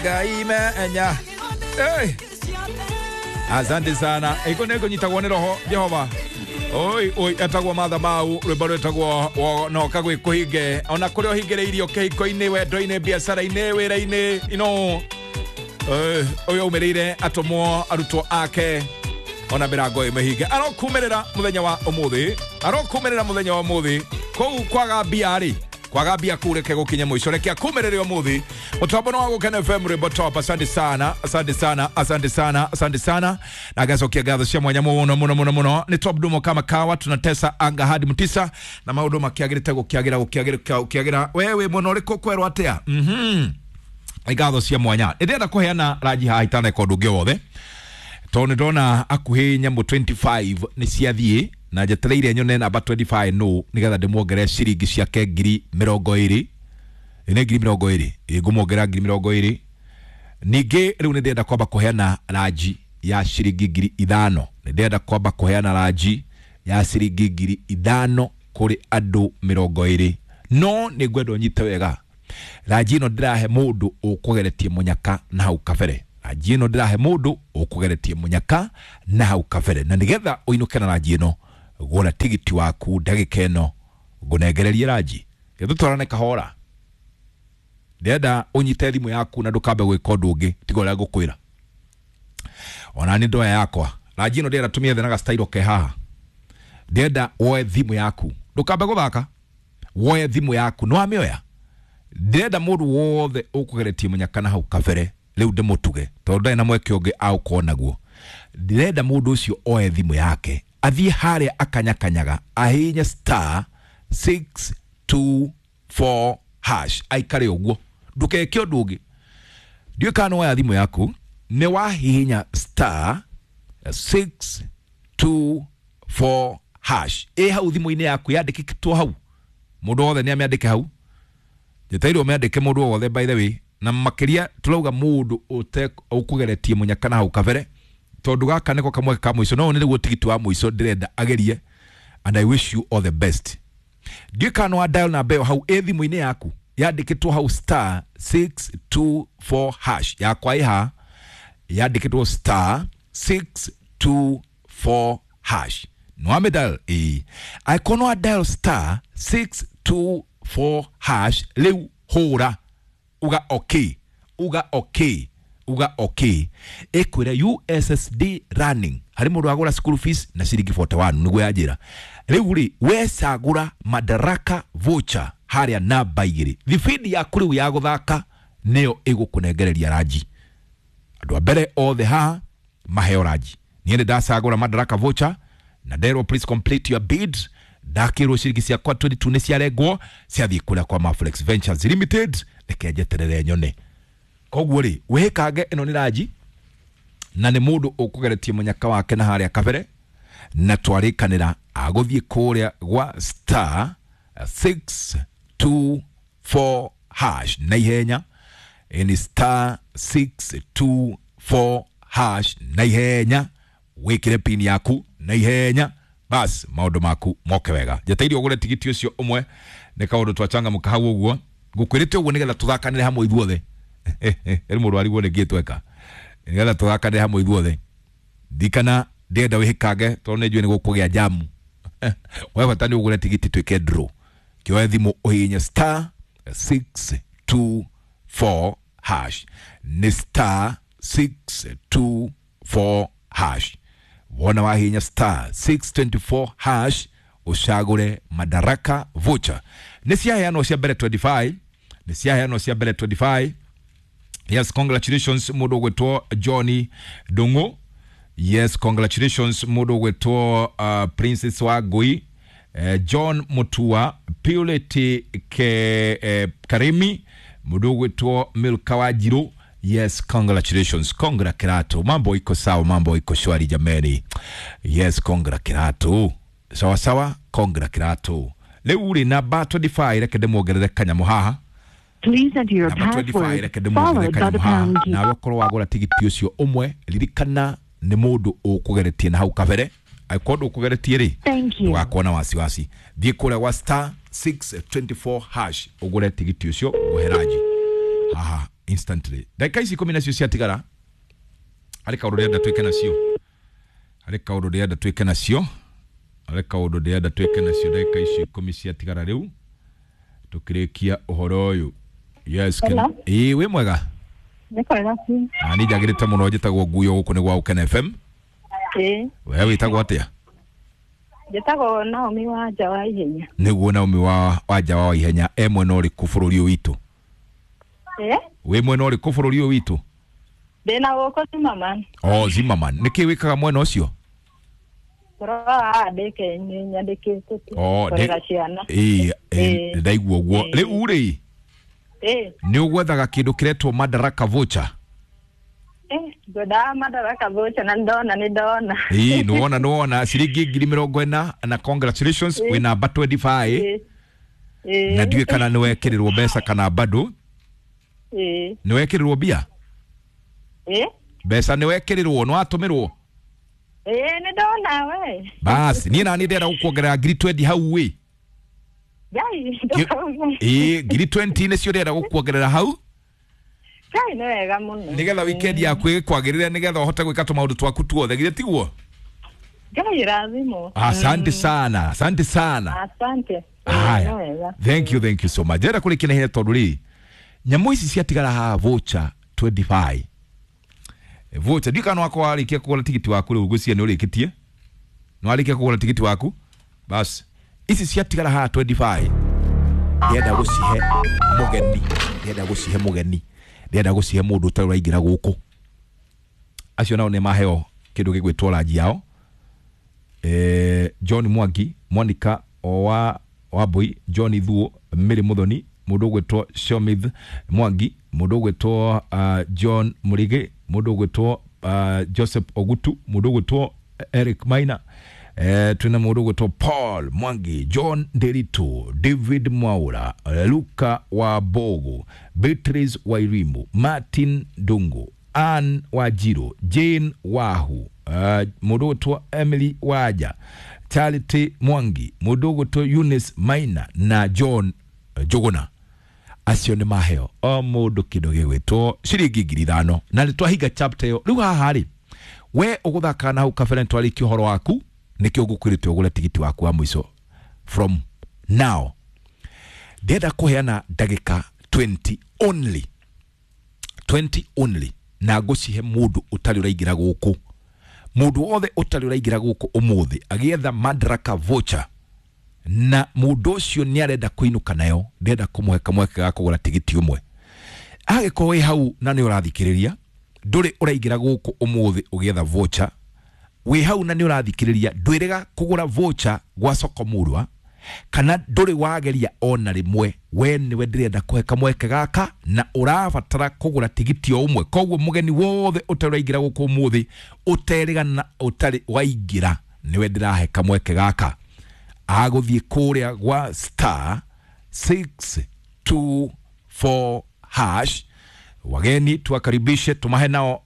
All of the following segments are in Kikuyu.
Ngai menya. Hey. Asante sana. Iko nä nyitagwo nä roho Jehova. Oi oi, etagwo Matha Mau, rwĩmbo rwĩtagwo noka gwĩ kũhinge. Ona kũrĩa ũhingĩrĩirio kĩhiko-inĩ, wendo-inĩ, biacara-inĩ, wĩra-inĩ, ino ũyũ aumĩrĩire atũmwo arutwo ake ona mĩrango ĩmĩhinge. Arokumĩrĩra mũthenya wa ũmũthĩ, arokumĩrĩra mũthenya wa ũmũthĩ. Kũu kwaga mbia rĩ, kwaga mbia kuu reke gũkinye mũico, reke akumĩrĩre ũmũthĩ. Mũtambo nĩ wa Gũkena FM, rwĩmbo top. Asante sana, asante sana, asante sana, asante sana. Na ngacokia ngatho cia mwanya mũno mũno mũno mũno. Nĩ Top Dumo kama kawa, tunatesa anga hadi mtisa na maũndũ makĩagĩrĩte gũkĩagĩra gũkĩagĩra gũkĩagĩra. Wewe mwena ũrĩkũ kwerwo atĩa? Ngatho cia mwanya. Ndĩrenda kũheana ranji haha itaneka ũndũ ũngĩ wothe, tondũ nĩ ndona akuhĩ nyamũ 25 nĩ ciathiĩ na njetereire nyone namba 25 no nĩgetha ndĩmuongerere ciringi ciake 20,000. Nĩ 20,000, ngũmuongerera 20,000. Ningĩ rĩu nĩ ndĩrenda kwamba kũheana ranji ya ciringi 5,000. Nĩ ndĩrenda kwamba kũheana ranji ya ciringi 5,000 kũrĩ andũ 20. No nĩ ngwenda ũnyite wega, ranji ĩno ndĩrahe mũndũ ũkũgeretie mũnyaka na hau kabere. Ranji ĩno ndĩrahe mũndũ ũkũgeretie mũnyaka na hau kabere, na nĩgetha ũinũke na ranji ĩno, gũra tigiti waku ndagĩka ĩno ngũnengererie ranji. Gĩtũtwarane kahora. Ndĩrenda ũnyite thimũ yaku na ndũkambe gwĩka ũndũ ũngĩ tiga ũrĩa ngũkwĩra. Ona nĩ ndoya yakwa ranji ĩno ndĩrenda tũmĩethe na gastairo ke haha. Ndĩrenda woe thimũ yaku, ndũkambe gũthaka, woe thimũ yaku. Nĩ wamĩoya? Ndĩrenda mũndũ wothe ũkũgeretie mũnyaka na hau kabere rĩu ndĩmũtuge, tondũ ndarĩ na mweke ũngĩ agũkorwo naguo. Ndĩrenda mũndũ ũcio oe thimũ yake athiĩ harĩa akanyakanyaga ahihinye star 624 hash, aikare ũguo, ndũkeke ũndũ ũngĩ. Ndiũĩ kana nĩ woya thimũ yaku, nĩ wahihinya star 624 hash ĩ hau thimũ-inĩ yaku, yandĩkĩtwo hau. Mũndũ wothe nĩ amĩandĩke hau, njetereirwo mĩandĩke mũndũ wothe, by the way. Na makĩria tũrauga mũndũ ũkũgeretie mũnyaka na hau kabere, tondũ gaka nĩko kamweke ka mũico. No nĩ nĩguo tigiti wa mũico ndĩrenda agerie, and I wish you all the best. Ndiũĩ kana nĩ wa dial namba ĩyo hau ĩ thimũ-inĩ yaku, yandĩkĩtwo hau star 624 hash. Yakwa ĩ haha, yandĩkĩtwo star 624 hash. Nĩ wamĩ dial? Ĩĩ. Angĩkorwo nĩ wa dial star 624 hash, rĩu hũra uga okay, uga okay, uga okay. Ĩkwĩra USSD running harĩ mũndũ wagũra school fees na ciringi 41, nĩguo yanjĩra. Rĩu rĩ, wecagũra Madaraka voucher harĩa namba 2, thibindi yaku rĩu ya gũthaka nĩyo ĩgũkũnengereria ranji. Andũ a mbere othe haha maheo ranji. Niĩ nĩ ndacagũra Madaraka voucher na nderwo please complete your bid. Ndakĩrwo ciringi ciakwa 22 nĩ ciarengwo ciathiĩ kũrĩa kwa Maflex Ventures Limited. Reke njeterere nyone. Koguo rĩ, wĩkange ĩno nĩ ranji na nĩ mũndũ ũkũgeretie mũnyaka wake na harĩa kabere, na twarĩkanĩra agũthiĩ kũrĩa gwa star 624 hash na ihenya. Ĩni star 624 hash na ihenya, wĩkĩre pin yaku na ihenya, bas maũndũ maku moke wega. Njeteire ũgũre tigiti ũcio ũmwe, nĩ kaũndũ twachangamũka hau ũguo. Ngũkwĩrĩte ũguo nĩgetha tũthakanĩre hamwe ithuothe. Ĩrĩ mũndũ arigwo nĩkĩ tweka, nĩgetha tũthakanĩre hamwe ithuothe. Ndikana ndĩrenda wĩhĩkange tondũ nĩ njũĩ nĩ gũkũgĩa jamu. We bata nĩ ũgũre tigiti twĩke draw. Kĩoe thimũ ũhihinye star 624 hash. Nĩ star 624 hash. Wona wahihinya star 624 hash, ũcagũre Madaraka voucher. Nĩ ciaheanwo cia mbere 25, nĩ ciaheanwo cia mbere 25. Yes, congratulations mũndũ ũgwĩtwo Johnny Ndung'u. Yes, congratulations mũndũ ũgwĩtwo Princess Wangui, John Mutua, Purity ke Karimi, mũndũ ũgwĩtwo Milka Wanjiru. Yes, congratulations. Congra Kirato. Mambo iko sawa, mambo iko shwari jameni. Yes, congra Kirato. Sawa sawa, congra Kirato. Rĩu rĩ, namba 25, reke ndĩmuongerere kanyamũ haha. Please enter your Namba 25, password reke ndĩmuongerere followed by kanyamũ the haha. pound key. Nawe korwo wagũra tigiti ũcio ũmwe, ririkana nĩ mũndũ ũkũgeretie na hau kabere. Angĩkorwo ndũkũgeretie rĩ, Thank you. ndũgakorwo na wasiwasi. Thiĩ kũrĩa gwa star 624 hash ũgũre tigiti ũcio ngũhe ranji haha. Instantly. Ndagĩka ici 10 nacio ciatigara, harĩ kaũndũ ndĩrenda twĩke nacio, harĩ kaũndũ ndĩrenda twĩke nacio, harĩ kaũndũ ndĩrenda twĩke nacio. Ndagĩka ici 10 ciatigara rĩu tũkĩrĩkia ũhoro ũyũ. Yes. Hello. Ĩĩ, wĩ mwega? Nĩ kwega biũ. Na niĩ njagĩrĩte mũno. Njĩtagwo Nguyo, gũkũ nĩ gwa Ũkena FM. Ĩĩ. We wĩtagwo atĩa? Njĩtagwo Naomi wa nja wa ihenya. Nĩguo, Naomi wa wanja wa ihenya, e mwena ũrĩkũ bũrũri ũyũ witũ? Ĩĩ. Wĩ mwena ũrĩkũ bũrũri ũyũ witũ? Ndĩna gũkũ Zimmerman. O Zimmerman. Nĩkĩ wĩkaga mwena ũcio? Tũroraga ndĩke nyandĩkĩte tu. O, Kũrera ciana. Ĩĩ, Ĩĩ. ndaigua ũguo. Ĩĩ. Rĩu rĩ, Ĩĩ. nĩ ũgwethaga kĩndũ kĩretwo Madaraka voucher? Ĩĩ, ngwendaga Madaraka voucher na ndona nĩ ndona. Ĩĩ, nĩwona, nĩwona ciringi 40,000, na congratulations. Ĩĩ. Wĩ namba 25. Ĩĩ. Ĩĩ. Na ndiũĩ kana nĩ wekĩrĩrwo mbeca kana bado. Ĩĩ. Nĩ wekĩrĩrwo mbia? Ĩĩ. Mbeca nĩ wekĩrĩrwo, nĩ watũmĩrwo? Ĩĩ, nĩ ndona we. Basi niĩ nani ndĩrenda gũkuongerera 20,000 hau wĩ. Ngai, ndũkauge. Ĩĩ, 20,000 nĩcio ndĩrenda gũkuongerera hau. Ngai, nĩ wega mũno. Nĩgetha weekend yaku ĩkwagĩrĩre, nĩgetha ũhote gwĩka tũmaũndũ twaku tuothe, githĩ tiguo? Ngai rathimo. Asante sana, asante sana. Asante. Ĩĩ, nĩ Haya, wega. thank you, thank you so much. Ndĩrenda kũrĩkia na ihenya tondũ rĩ, nyamũ ici ciatigara haha, voucher 25 voucher. Ndiũĩ kana wakwa warĩkia kũgũra tigiti waku rĩu, ngwĩciria nĩ ũrĩkĩtie, nĩ warĩkia kũgũra tigiti waku. Bas, ici ciatigara haha 25, ndĩrenda gũcihe mũgeni, ndĩrenda gũcihe mũgeni, ndĩrenda gũcihe mũndũ ũtarĩ ũraingĩra gũkũ. Acio nao nĩ maheo kĩndũ gĩgwĩtwo ranji yao. John Mwangi, Monica wa Wambui, John Thuo, Mary Muthoni, mũndũ ũgwĩtwo Shomith Mwangi, mũndũ ũgwĩtwo John Murigi, mũndũ ũgwĩtwo Joseph Ogutu, mũndũ ũgwĩtwo Eric Maina, twĩna mũndũ ũgwĩtwo Paul Mwangi, John Nderitu, David Mwaura, Luka wa Bogo, Beatrice Wairimu, Martin Dungu, Ann Wajiro, Jane Wahu, mũndũ ũgwĩtwo Emily Waja, Charity Mwangi, mũndũ ũgwĩtwo Eunice Maina na John Njuguna. Acio nĩ maheo o mũndũ kĩndũ gĩgwĩtwo ciringi 5,000, na nĩ twahinga chapter ĩyo. Rĩu haha rĩ, we ũgũthaka na hau kabere nĩtwarĩkia ũhoro waku, nĩkĩo ngũkwĩrĩte ũgũre tigiti waku wa mũico from now. Ndĩrenda kũheana ndagĩka 20 only, 20 only, na ngũcihe mũndũ ũtarĩ ũraingĩra gũkũ. Mũndũ wothe ũtarĩ ũraingĩra gũkũ ũmũthĩ agĩetha Madaraka voucher, na mũndũ ũcio nĩ arenda kũinũka nayo, ndĩrenda kũmũhe kamweke ga kũgũra tigiti ũmwe. Agĩkorwo wĩ hau na nĩ ũrathikĩrĩria, ndũrĩ ũraingĩra gũkũ ũmũthĩ ũgĩetha voucher, wĩ hau na nĩ ũrathikĩrĩria, ndwĩrĩga kũgũra voucher gwa soko murwa, kana ndũrĩ wageria ona rĩmwe, we nĩwe ndĩrenda kũhe kamweke gaka na ũrabatara kũgũra tigiti o ũmwe. Koguo mũgeni wothe ũtarĩ ũraingĩra gũkũ ũmũthĩ, ũterĩga na ũtarĩ waingĩra, nĩwe ndĩrahe kamweke gaka agũthiĩ kũrĩa gwa star 624 hash. Wageni tuwakaribishe, tumahe nao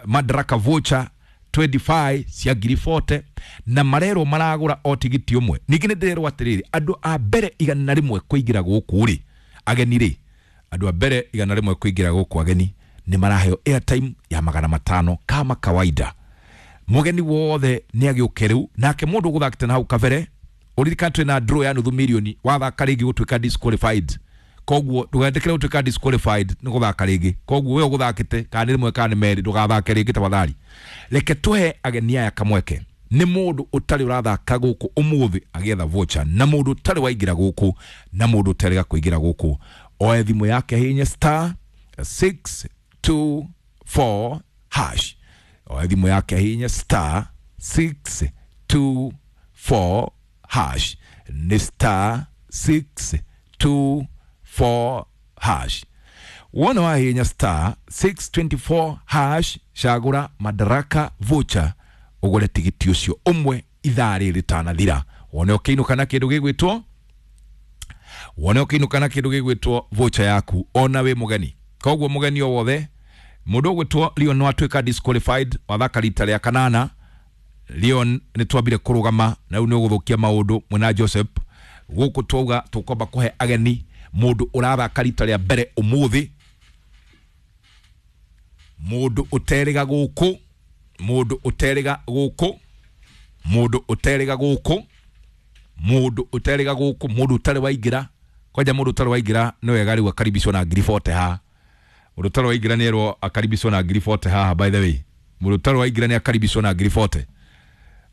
Madaraka voucher 25 cia 40,000, na marerwo maragũra o tigiti ũmwe. Ningĩ nĩ ndĩrerwo atĩrĩrĩ, andũ a mbere 100 kũingĩra gũkũ rĩ, ageni rĩ, andũ a mbere 100 kũingĩra gũkũ ageni nĩ maraheo airtime ya 500 kama kawaida. Mũgeni wothe nĩ agĩũke rĩu. Nake mũndũ ũgũthakĩte na hau kabere, ũririkane twĩna draw ya nuthu mirioni, wathaka rĩngĩ gũtuĩka disqualified. Koguo ndũgetĩkĩre gũtuĩka disqualified nĩ gũthaka rĩngĩ. Koguo we ũgũthakĩte kana nĩ rĩmwe kana nĩ merĩ, ndũgathake rĩngĩ tafadhali. Reke tũhe ageni aya kamweke. Nĩ mũndũ ũtarĩ ũrathaka gũkũ ũmũthĩ agĩetha voucher, na mũndũ ũtarĩ waingĩra gũkũ, na mũndũ ũtarĩga kũingĩra gũkũ, oe thimũ yake, hihinye star 624 hash. Oe thimũ yake, hihinye star 624 hash, nĩ star 624 hash. Wona wahihinya star 624 hash, cagũra Madaraka voucher, ũgũre tigiti ũcio ũmwe ithaa rĩrĩ rĩtanathira, wone ũkĩinũka na kĩndũ gĩgwĩtwo, wone ũkĩinũka na kĩndũ gĩgwĩtwo voucher yaku ona wĩ mũgeni. Koguo mũgeni o wothe, mũndũ ũgwĩtwo Leon no atuĩka disqualified, wathaka rita rĩa kanana. Leon, nĩ twambire kũrũgama na rĩu nĩ ũgũthũkia maũndũ mwena Joseph. Gũkũ twauga tũkwamba kũhe ageni, mũndũ ũrathaka rita rĩa mbere ũmũthĩ. Mundu uteriga guku, mundu uteriga guku, mundu uteriga guku, mundu uteriga guku, mundu utari waingira kwanja, mundu utari waingira ni wega riu akaribishwo na ngiri 40 haha. Mundu utari waingira ni erwo akaribishwo na ngiri 40 haha. By the way, mundu utari waingira ni akaribishwo na ngiri 40.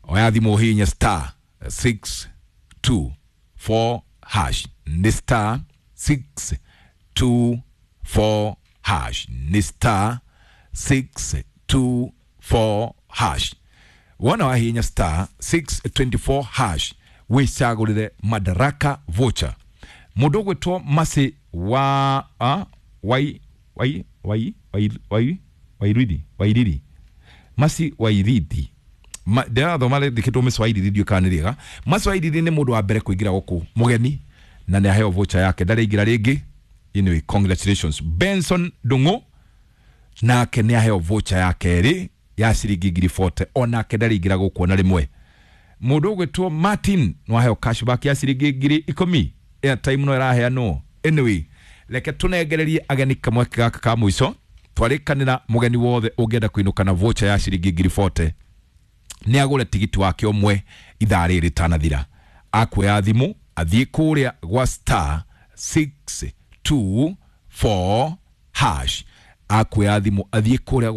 Oya thimu hinya star 624 hash, ni star 624 hash, ni star 624 hash. Wona wahinya star 624 hash wicagurire Madaraka voucher. Mundu ugwitwo Masi wa wai wai wai wai wai wairidi wairidi Masi Wairidi, ndĩrathoma rĩndĩkĩtwo Masi Wairidi, ndiũ kana nĩ rĩega. Masi Wairidi nĩ mũndũ wa mbere kũingĩra gũkũ mũgeni na nĩ aheo voucher yake, ndarĩingĩra rĩngĩ. Anyway, congratulations. Benson Ndung'u nake nĩ aheo voucher ya kerĩ ya ciringi ngiri 40, onake ndarĩingĩra gũkũ ona rĩmwe. Mũndũ ũgwĩtwo Martin no aheo cashback ya ciringi ngiri ikũmi, airtime no ĩraheanwo. Anyway, reke tũnengererie ageni kamweke gaka ka mũico. Twarĩkanĩra mũgeni wothe ũngĩenda kũinũka na voucher ya ciringi ngiri 40 nĩ agũre tigiti wake ũmwe ithaa rĩrĩ rĩtanathira. Akuoya thimũ athiĩ kũrĩa gwa star 624 hash, akuoya thimũ athiĩ kũrĩa.